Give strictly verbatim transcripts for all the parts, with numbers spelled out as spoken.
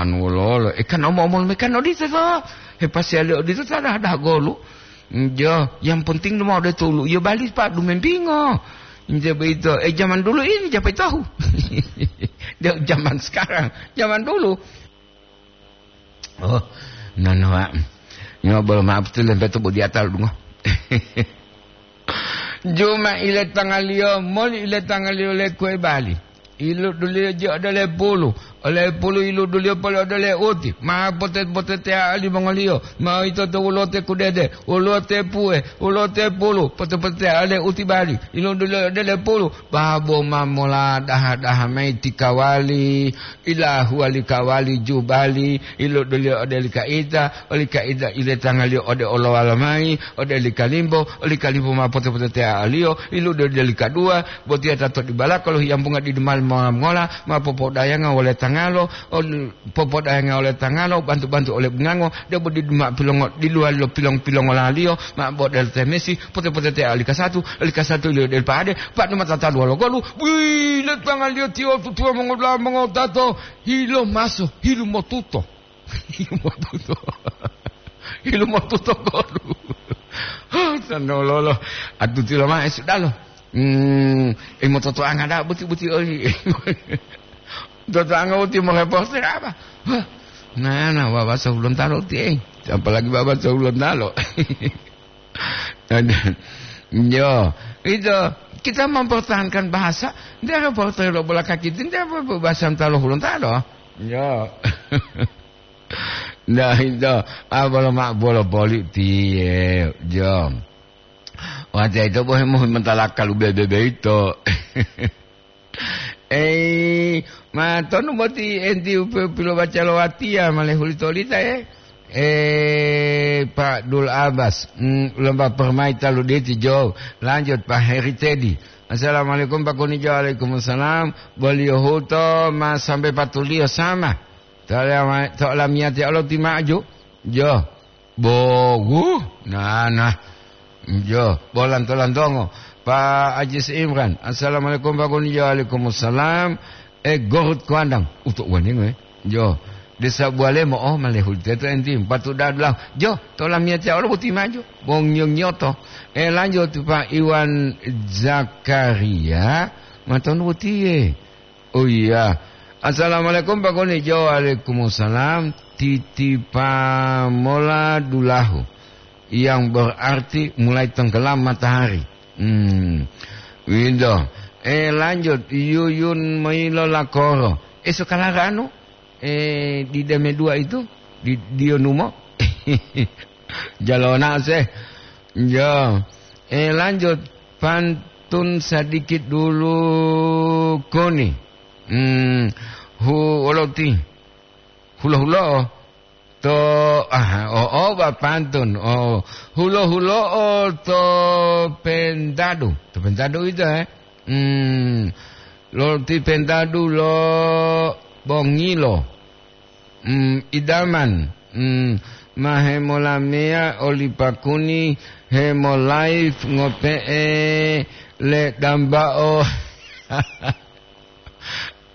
anu wololo. E, kan omo-omolu me kan odito to. He pasiyali odito ta dah-dah golu. Jo, yang penting lumao de tulu. Iyo bali, Pak, dumempingo. Nje beito. Eh, zaman dulu ini siapa tahu? Dia zaman sekarang. Zaman dulu. Oh, nanoa. Nyo bolo maaf tu lempeto bodi atal dungo. Juma ile tangaliyo, moli ile tangaliyo le kue bali. Iluduliyo ji ode le pulu, ole pulu iluduliyo poli ode le uti. Ma pote-potetea limongoliyo, ma ito to wulote kudede, wulote pue, wulote pulu, pote-potetea le uti bali. Iluduliyo ode le pulu, babo ma mola daha-daha mayi ti kawali, ilahuwa li kawali jubali, iluduliyo ode li kaita, oli kaita ile tangaliyo ode olowala mayi, ode li kalimbo, oli kalimbo ma pote-potetea aliyo, iluduliyo ode li kaduwa, botiya ta to dibalaka lo hiyambunga didu mali mongola-mongola, ma popodayanga wole tangalo, ol-, popodayanga wole tangalo, bantu-bantu ole bungango, debo didu ma pilongo, diluwali lo pilong-pilongolaliyo, ma bodel temesi, pote-potetea oli kasatu, oli kasatu liyo del pade, padu mata taluwa lo golu, wile tangaliyo tiyo tutuwa mongola mongotato, hilo maso, hilu motuto. Hilu motuto. Hilu motuto golu. Sanololo. Atuti loma'e sudalo. Hmm, e mototoanga da'a buti-buti oli. Totoanga uti mo reporter apa? Wah, nah, nah, Baba Sahulontalo uti, eh. Apalagi Baba Sahulontalo. Yo, itu kita mempertahankan bahasa. Dia reporter lo bola kaki itu, dia bahasa Hulontalo. Yo. Nah, itu, ah, bolo ma-, bolo boli tiye, jo. Wate itu bohe mo mentala kalu bebe itu. Eh, ma tonu boti enti upe-, pilobaca lo watiya male hulitolita, eh. Eh, Pak Dul Abbas, mm, lomba permai talu diti jo. Lanjut, Pak Heri Tedi. Assalamualaikum, Pak Kuni Jo. Waalaikumsalam. Boliyo huto ma sampai patuliyo sama. To lama-, to lamiyati Allah ti maju. Jo. Bogu. Nah, nah. Jo. Bolanto-lantongo. Pak Ajis Imran. Assalamualaikum, Pak Kuni Jo. Waalaikumsalam. Eh, Gorut Kuandang. Utuk waningo, eh. Jo. Desa Bualemo. Oh, malehul teto enti. Patu dadlah. Jo. To lamiyati Allah boti maju. Bong nyong nyoto. Eh, lanjut, Pak Iwan Zakaria. Matonu botiye. Oh iya. Assalamualaikum, Pak Kuni Jo. Waalaikumsalam. Titipa mola dulahu. Yang berarti mulai tenggelam matahari. Hmm. Windo. Eh, lanjut. Yuyun Mailo Lakoro. Eh, sekarang anu? Eh, di Deme dua itu? Di Dionumo? Jalona se. Yo. Eh, lanjut. Pantun sedikit dulu, Kuni. Hmm, hu-, oloti. Hulo-hulo. To, ah, oh, oh, ba pantun. Oh, hulo-hulo, oh, to pentadu. To pentadu itu, eh. Hmm, loti pentadu lo bongilo. Mm, idaman, mm, ma hemolameya oli Pakuni hemolive ngope'e le dambao.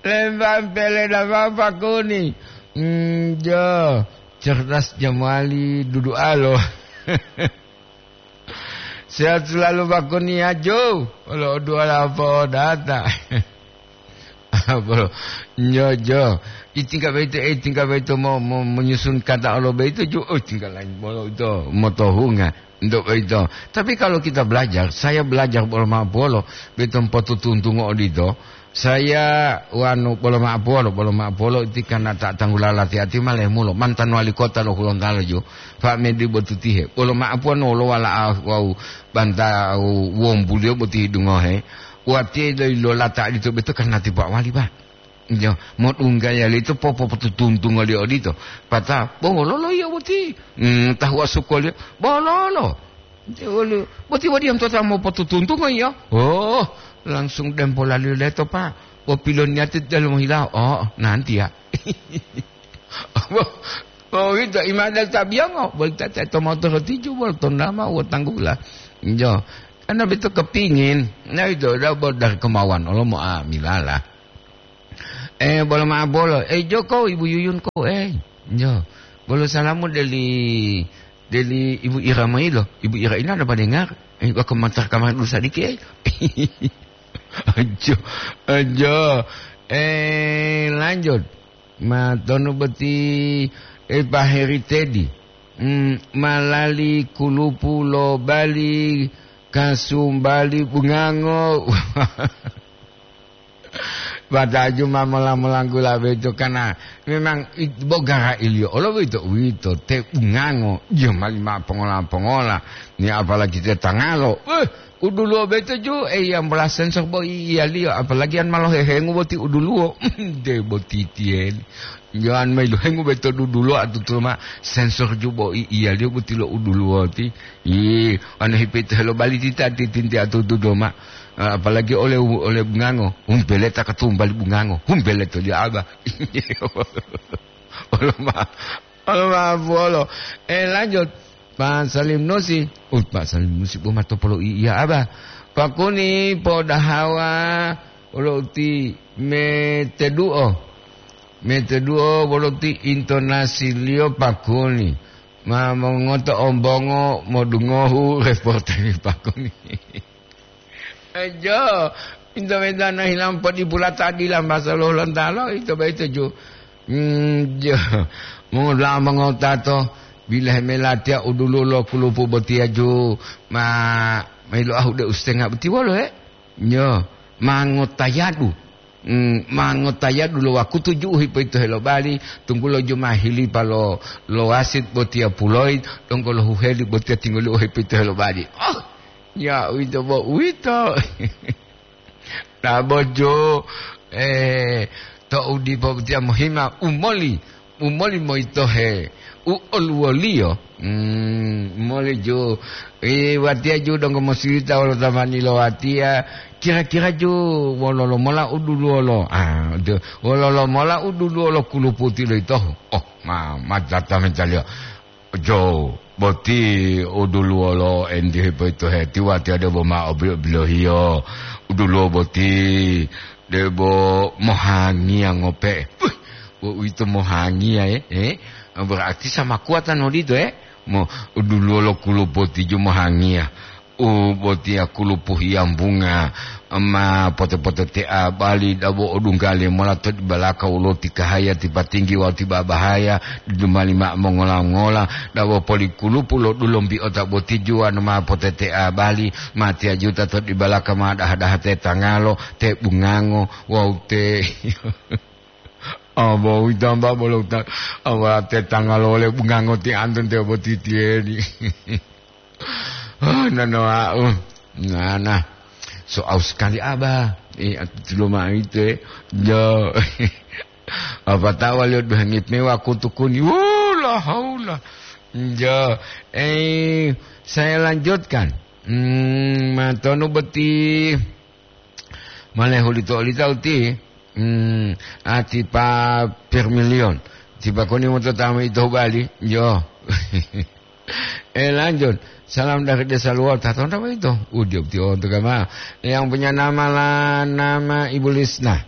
Lembang pele dambao Pakuni. Mm, jo, cerdas jamali dudualo. Sehat selalu, Pak Kuni, ajo. Wolo dua lapo data. Apa lo? Nyojo. Itingga boyito, eh, tingga boyito mo-, mo-, menyusun kata Allah boyito ju-, oh, tingga lain bolo itu motohunga. Untuk boyito. Tapi kalau kita belajar, saya belajar bolo ma'o bolo, boyito potutuntungo odito. Saya wanu bolo ma'o polo, bolo ma'o polo iti karena ta tanggula lati-ati ma lemulo, mantan wali kota lo Hulontalo jo, Pak Medi Botutihe. Bolo ma'o polo wolo wala'a wawu banta wombuliyo boti dungohe. Watiye doyi lolata adito beto karena ti Pak Wali, Pak. Jo, modunggaya lito popopotutuntungo liyo odito. Pata, bololo iya boti. Hmm, tahuwa sukoliyo, bololo. Wolu, boti wadiya tota mopotutuntungo iya. Oh, langsung dempolaliyo leto, Pak. Bo piloniyati delomo hilawo. Oh, nanti ya. Bo, bo wito imada tabiyongo. Boli tata to motoro tiju, bolo tondama, wo tanggula. Jo. Karena beto kepingin. Nah, itu udah bo dari kemauan. Olo mo amilala. Eh, bolo ma'o bolo. Eh, jo ko Ibu Yuyun ko, eh. Jo. Bolo salamu deli, deli Ibu Ira mailo. Ibu Ira ina ada padengar. Eh, wa komentar kamar dulu sadiki, eh. Ajo, ajo. Eh, lanjut. Ma tonu boti, eh, Pak Heri Tedi. Hmm, malali kulupu lo Bali, kasumbali bungango. Bataju ma mola-molanggula boyito, karena memang it-, bogara iliyo olo boyito, uwito te bungango, iyo mali ma pongola-pongola, ni apalagi te tangalo. Eh, uduluwo boyito ju, eh, yang bola sensor bo i-, iyaliyo, apalagi an malo hehengu boti uduluwo, de boti tiyeli. Jo'an ma ilohengu boyito dudulo atutu ma sensor jubo i-, iyaliyo boti lo uduluwoti. Ih, anu hipito helo bali tita titinti atutu doma. Ah, apalagi oleh u-, oleh bungango, humpeleta katumbali bungango, humpeleto li aba. Olo ma, olo ma buolo. Eh, lanjut. Pak Salim Nusi. Uh, Pak Salim Nusi bo matopolo i-, iya aba. Pakuni podahawa olo uti meteduo. Meteduo bolo ti intonasiliyo pakuni. Ma mongoto ombongo modungohu reporter pakuni. Ejo, minta-minta na hilang podi pula tadi lah masa lo Lontalo, ito ba ito ju. Hmm, jo. Mongola mongotato, bila melatiya udulu lo kulupu botiya ju. Ma, mailu ahu de ustenga boti wolo, eh? Nyo, mangotayadu. Mm, mangotayadu lo wakutu ju'u hipoyito helobali, tunggulo jumahilipa lo, lo wasit botiya puloyi, donggo lo huheli botiya tinggoliyo hipoyito helobali. Oh, ya uwito bo uwito. Tabojo, eh, to'u dipo botiya mohima umoli. Umoli moyitohe u oluwoliyo, mm, umoli ju, i, watiya ju donggo mosirita wolo tamani lo watiya, kira-kira ju wololo mola u duluwolo, ah, ju, wololo mola u duluwolo kuluputi loyitohu. Oh, ma, ma data mencaliyo. Jo, boti u duluwolo endi hipoyitohe, ti watiya debo ma obilo-bilohiyo, u duluwo boti debo mohangiya ngope'e. Puh! Wo uwito mohangiya, eh? Eh? Berarti sama kuatan odito, eh? Mo, u duluwo lo kulupu tijo mohangiya. U botiya kulupu hiyambunga, ma pote-potetea bali dabo odunggale mola to dibalaka wolo ti kahaya ti patinggi wawu ti babahaya, didumali mao mongola-ngola, dabo poli kulupu lo dulombiota botijuwa no ma potetea bali, ma tiyajuta to dibalaka ma daha-daha te tangalo, te bungango, wawu te Abo uwito amba bolo uta, aba tetangga lo wole bungango ti antun te botitiyeni. Ah, nano wau. Nana. So aus sekali aba. Eh, atu tulo mao ite. Jo. Apa tawa liyo duhangi mewa kutukuni. Wala haula. Jo. Eh, saya lanjutkan. Hmm, matonu boti. Mane hulito-hulita uti, hmm, ati pa per million. Tiba koni moto tamu ito bali, yo. Eh, lanjut. Salam dari Desa Luwota. Tahu apa itu? Udio ti onto kama. Yang punya nama la, nama Ibu Lisna.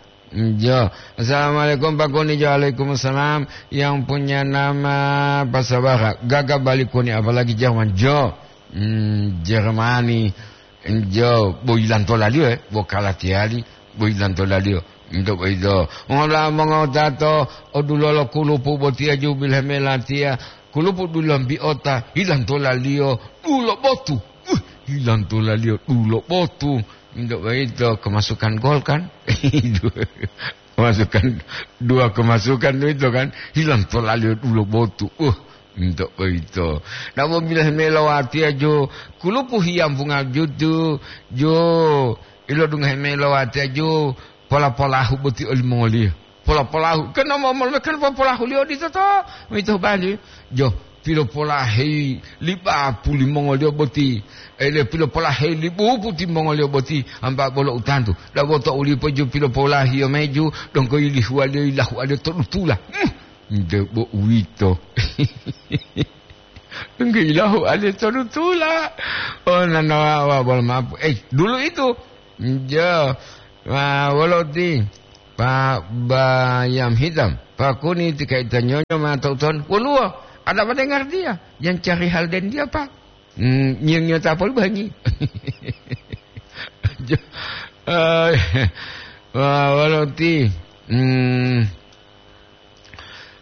Jo. Assalamualaikum Pak Koni. Jo, waalaikumsalam. Yang punya nama Pasabara. Gaga balik Koni, apalagi Jerman. Jo. Hmm, Jermani. Njo, bo yilantolaliyo, eh, bo kalatiyali, bo yilantolaliyo. Nto boyito. Ngola mongotato, odulolo kulupu botiya jubil hemelatiya, kulupu dulambiota, yilantolaliyo, dulo botu. Uh, yilantolaliyo, dulo botu. Nto boyito, kemasukan gol kan? Kemasukan, dua kemasukan itu kan, hilang tolaliyo dulo botu. Uh, nto boyito. Namo bilahe melowatiya jo, kulupu hiyambunga jutu, jo, ilodungohe melowatiya jo, pola-polahu boti olimongoliyo. Pola-polahu, kan nomor kan pola-polahu liyo di toto, mito bali. Jo, pilopolaheyi li bapu limongoliyo boti, ele pilopolaheyi li bupu timongoliyo boti, amba bolo utantu. Dabo to ulipo ju pilopolahiyo meju, donggo yilihuwaliyo yilahuwaliyo to dutula. Hmm, nde bo uwito. Donggo yilahuwaliyo to dutula. Oh, nanawawa bolo mapu. Eh, dulu itu. Jo, wa-, wolo ti. Pak Bayam Hitam, Pak Kuni tika ita nyonyo ma tau ton. Woluwo, ada apa dengar dia? Yang cari hal dan dia, Pak. Hmm, nyeng nyota pol bangi. Jo, eh, wah, walo ti. Hmm,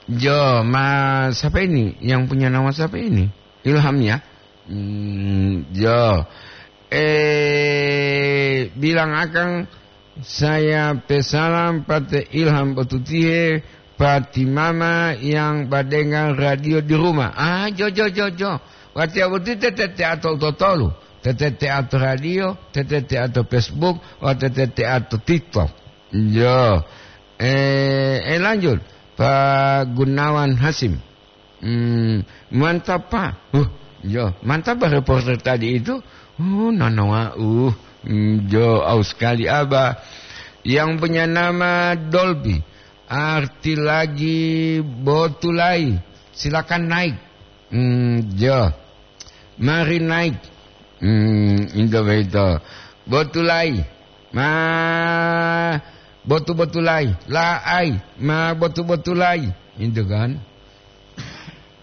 jo, ma, siapa ini? Yang punya nama siapa ini? Ilham ya? Hmm, jo. Eh, bilang akang, saya pesalam pate Ilham botutihe, pati mama yang badengar radio di rumah. Ah, jo, jo, jo, jo. Wati abuti tete teato totolu. Tete teato radio, tete teato Facebook, wa tete teato TikTok. Jo. Eh, eh, lanjut. Pak Gunawan Hasim. Hmm, mantap, Pak. Huh, jo, mantap, Pak, reporter tadi itu. Oh, nanawa, uh, hmm, jo, aus sekali, Abah. Yang punya nama Dolby. Arti lagi botulai. Silakan naik. Hmm, jo. Mari naik. Hmm, itu begitu. Botulai. Ma botu-botulai. Laai. Ma botu-botulai. Itu kan.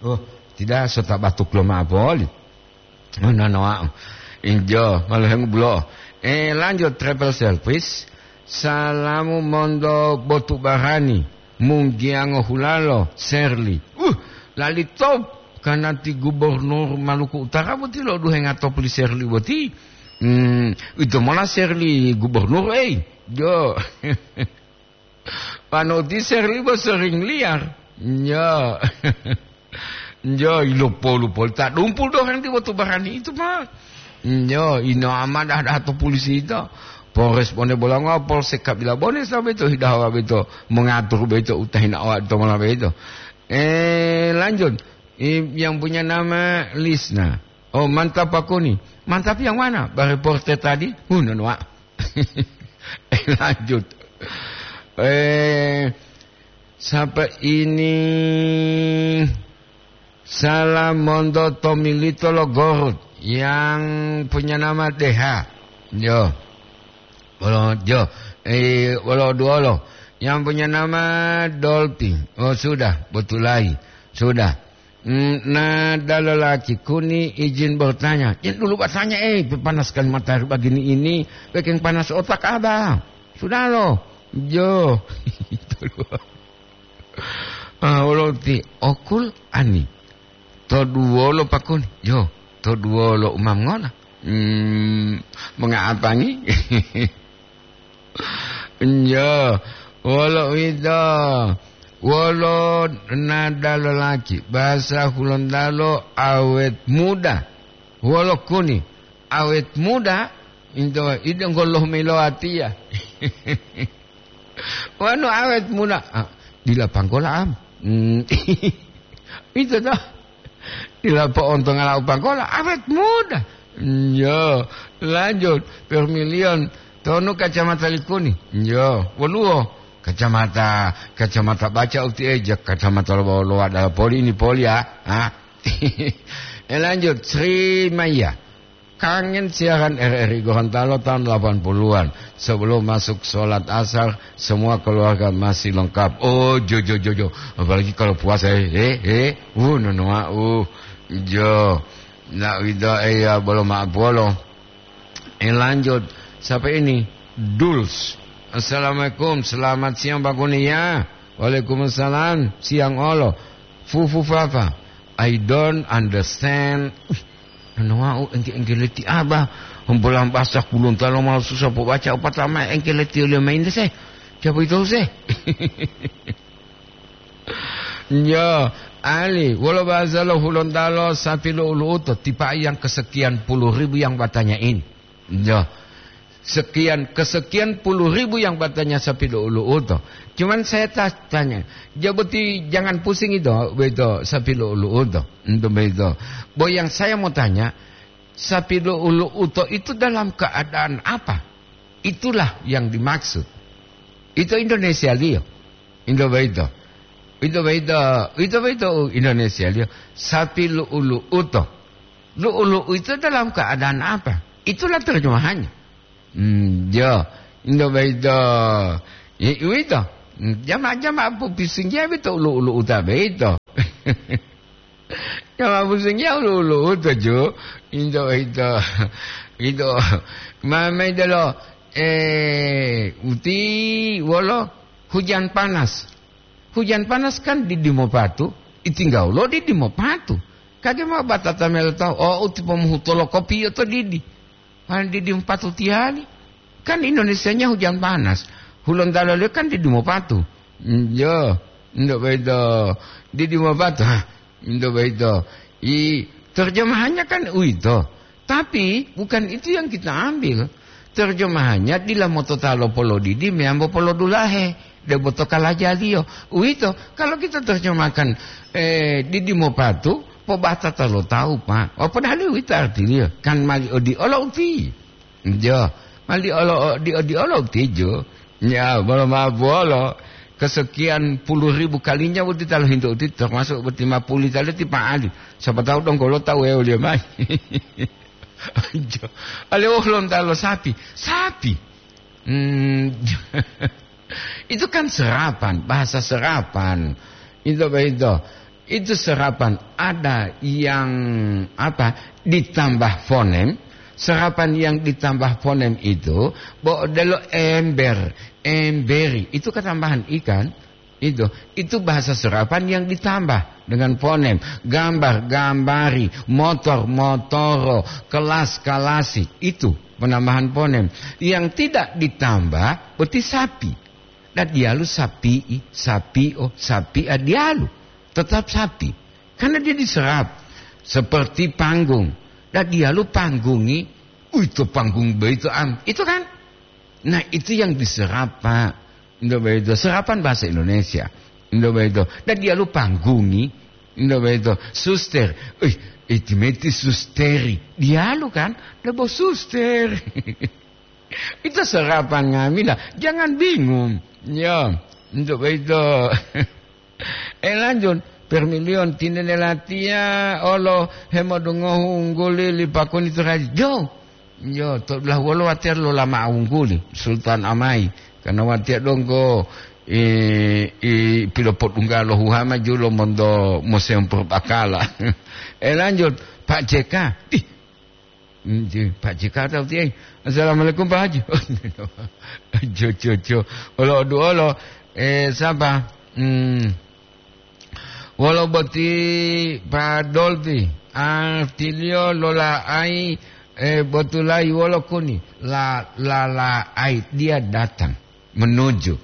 Oh, tidak, sota batuk lo ma poli. Oh, no, no, ah. Injo, malu hengu bulo. Eh, lanjut travel service. Salamu mondo botu barani. Munggiango hulalo, Serli. Uh, lali top. Karena ti gubernur Maluku Utara boti lo duhenga top li Serli boti. Hmm, itu mola Serli gubernur, eh. Jo. Panoti Serli bo sering liar. Nyo. Nyo, ilopo-lopo ta dumpul do henti botu barani itu, Pak. Nyo, ino amadah dah to polisi itu. Polres Bone Bolongo, Polsek Kabila Bone, sampai to hidawa beto, mengatur beto, utahina awak to malah beto. Eh, lanjut. I-, yang punya nama Lisna. Oh, mantap, Pak Kuni. Mantap yang mana? Pak reporter tadi? Uh, nonwa. Eh, lanjut. Eh, siapa ini? Salam monto Tomilito lo Gorut yang punya nama Deha. Yo. Wolo, jo. Eh, wolo duolo. Yang punya nama Dolphin. Oh, sudah, botulai. Sudah. Hmm, nah, dalalaki Kuni izin bertanya. Jangan dulu bertanya, eh, panas sekali matahari begini ini, bikin panas otak Abah. Sudah loh. Jo. Itu loh. Ah, wolo ti okul ani. To duwolo Pak Kuni. Jo, to duwolo umam ngola. Hmm, mengapangi? Njo, wolo uwito, wolo nada lolaki, bahasa Hulontalo awet muda. Wolo Kuni, awet muda, into, ide ngoloh melo atia. Wanu awet muda, ah, dila panggola am. Hmm. Itu toh. Dila po'ontonga lau panggola, awet muda. Yo, lanjut. Permilion, tonu kacamata likuni. Yo, woluwo. Kacamata, kacamata baca uti eja, kacamata lo, lo ada poli ini poli ya. Ha? Eh, lanjut. Sri Maya. Kangen siaran R R I Gorontalo tahun delapan puluhan. Sebelum masuk sholat asar, semua keluarga masih lengkap. Oh, jo, jo, jo, jo. Apalagi kalau puasa, eh, eh, eh. Uh, nonoa, uh. Jo. Nak wida, eh, ya, bolo maaf, bolo. Eh, lanjut. Siapa ini? Duls. Assalamualaikum, selamat siang, Pak Kuni, ya. Waalaikumsalam, siang olo. Fufu Fafa, I don't understand. Noa u engke-engke leti aba. Humpulang basah kulunta lo mau susah po baca upata ma engke leti oleh main se. Siapa itu se? Yo, Ali, wolo bahasa lo Hulontalo sapi lo ulu uto, tipa yang kesekian puluh ribu yang bertanya ini. Yo, sekian, kesekian puluh ribu yang bertanya sapi lo ulu uto. Cuman saya ta-, tanya, jaboti jangan pusing itu, begitu, sapi lo ulu uto. Untuk begitu. Bo yang saya mau tanya, sapi lo ulu uto itu dalam keadaan apa? Itulah yang dimaksud. Itu Indonesia liyo. Indo boyito. Ito boyito, ito boyito Indonesia liyo. Sapi lu'u-lu'uto. Lu'u-lu'u itu dalam keadaan apa? Itulah terjemahannya. Hmm, yo. Indo boyito. I-, uwito. Jama-jama popisinggiya bito ulu-ulu uta beito. Jama pusinggiya ulu-ulu uta, ju. Into, into. Into. Ma-, maidelo, eh, uti wolo hujan panas. Hujan panas kan didi mopatu, itinggaulo didi mopatu. Kage ma batata melo tahu, oh, uti pomuhu tolo kopiyo to didi. Wali didi mopatu tiyali. Kan Indonesianya hujan panas. Hulontalo liyo kan didi mopatu. Mm, yo, ndo bedo. Didi mopatu. Hah, ndo bedo. I, terjemahannya kan uwito. Tapi bukan itu yang kita ambil. Terjemahannya dila motota lo polodidi meyambo polodulahe. Debo to kalajaliyo. Uwito, kalau kita terjemahkan, eh, didi mopatu, pobatata lo tawu, Pak. Oh, padahal uwito artiliyo. Kan mali odiolo uti. Jo, mali olo, di, di olo tijo. Ya, bolo ma bolo. Kesekian puluh ribu kalinya boti talo hinto uti, termasuk boti ma puli talo ti Pak Ali. Siapa tahu dong kalau tahu ya ulia mai. Jo, ale oh, lon talo sapi. Sapi. Hmm, itu kan serapan, bahasa serapan. Itu apa itu? Itu serapan ada yang, apa, ditambah fonem. Serapan yang ditambah fonem itu, bo odelo ember, emberi. Itu ketambahan ikan. Itu, itu bahasa serapan yang ditambah dengan fonem. Gambar, gambari, motor, motoro, kelas, kalasi. Itu penambahan fonem. Yang tidak ditambah, berarti sapi. Dan dialu sapi'i, sapio, sapia dialu. Tetap sapi. Karena dia diserap seperti panggung. Dan dialu panggungi, uito panggung beito am. Itu kan? Nah, itu yang diserap, Pak. Indo beito. Serapan bahasa Indonesia. Indo beito. Dan dialu panggungi. Indo beito. Suster. Uih, itimeti susteri. Dialu kan? Debo suster. Itu serapan nga'amila. Jangan bingung. Ya, untuk itu. Eh, lanjut. Permilion tinene latiya olo hemodungohu ungguli li pakuni to raja. Jo. Jo, to belah wolo watiya lo lama ungguli. Sultan Amai. Karena watiya donggo i, i pilopot unggalo huhama julo mondo museum Purbakala. Eh, lanjut. Pak J K. Ih, Nggih, Pak Jika tahu tiye. Assalamualaikum, Pak Haji. Jo, jo, jo. Olo duolo, eh, sapa? Hmm. Wolo boti Pak Dolpi, artiliyo lola'ai, eh, botulai wolo kuni. La, la, la'ai, dia datang, menuju.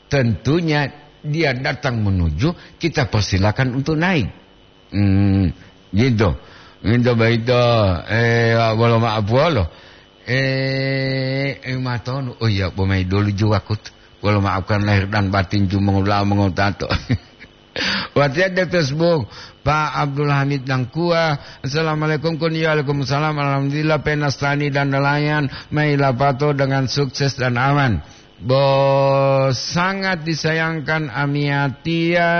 Tentunya dia datang menuju, kita persilakan untuk naik. Hmm, gitu. Gitu begitu. Eh, wolo maaf wolo. Eh, eh, matonu. Oh iya, pomai dulu juwakut. Wolo maafkan lahir dan batin jumongula mongotato. Watiat di Facebook, Pak Abdul Hamid Nangkua. Assalamualaikum, kun. Ya, waalaikumsalam. Alhamdulillah, penastani dan nelayan. Mai lapato dengan sukses dan aman. Bo sangat disayangkan amiyatiya,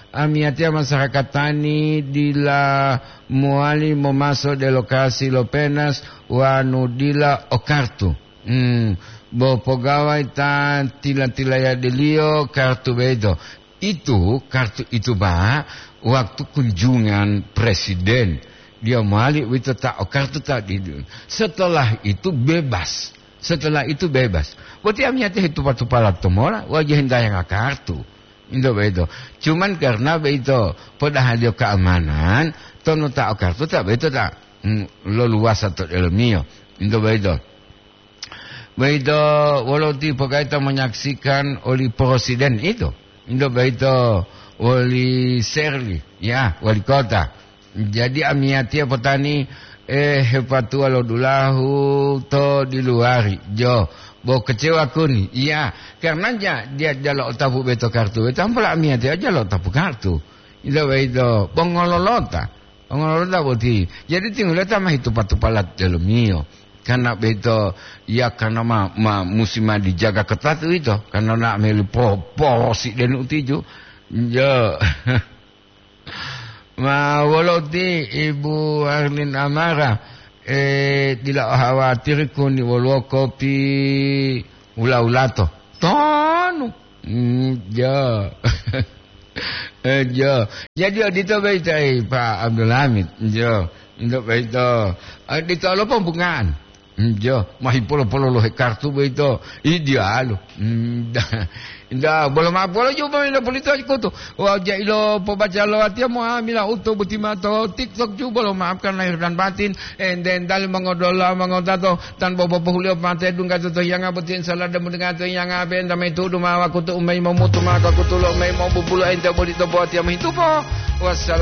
amiyatiya masyarakat tani dila mowali momaso de lokasi lo penas wanu dila o kartu. Hmm, bo pogawai ta tila-tilayadiliyo kartu bedo. Itu kartu itu, Pak, waktu kunjungan presiden. Dia mowali uwito ta o kartu ta di, setelah itu bebas. Setelah itu bebas. Boti amiyatiya hetupa-tupala to mola, wajiya hintayanga kartu. Into beito. Cuman karena beito, podahaliyo keamanan, tonu ta o kartu ta beito ta, mm, loluwasa to delomiyo. Into beito. Beito, wolo ti pogaita menyaksikan oli presiden itu. Into beito, oli Serli, ya, wali kota. Jadi amiyatiya potani, eh, hepatuwa lo dulahu to diluwari, jo, bo kecewa kuni. Iya, karena ja-, dia jalo otapu beto kartu, beto ampola amiyatiya jalo otapu kartu. Ito beito, pongololota. Pongololota boti. Jadi tingguleta ma hitupa-tupala delomiyo. Karena beito, ya karena ma, ma, musi ma dijaga ketat uwito. Karena na meli po-, porosi denu tiju. Jo. Ma wolo ti Ibu Arlin Amara, eh, dila o hawatiri kuni woluwo kopi wula-wulato. To Hmm, jo. Eh, jo. Jadi, odito boyito, eh, Pak Abdul Hamid. Jo. Untuk boyito. Eh, dito lo pembungaan. Hmm, jo. Mahi polo-polo lo he kartu boyito. Ih, diyalu. Hmm, da-, da, bolo ma'o polo ju boyito polito kutu. Wau ja ilo pobaca lo watiya mo amila uto boti ma to TikTok ju bolo maafkan lahir dan batin. Enten dali mongodola mongotato. Tanpa bobohuliyo pate dungga to tohiyanga boti, insya Allah demu dungga tohiyanga, benta mayi tudu ma wakutu u mayi momutu ma kakutulo u mayi mobubulo ente boli to botiya mohitupo. Wassalam.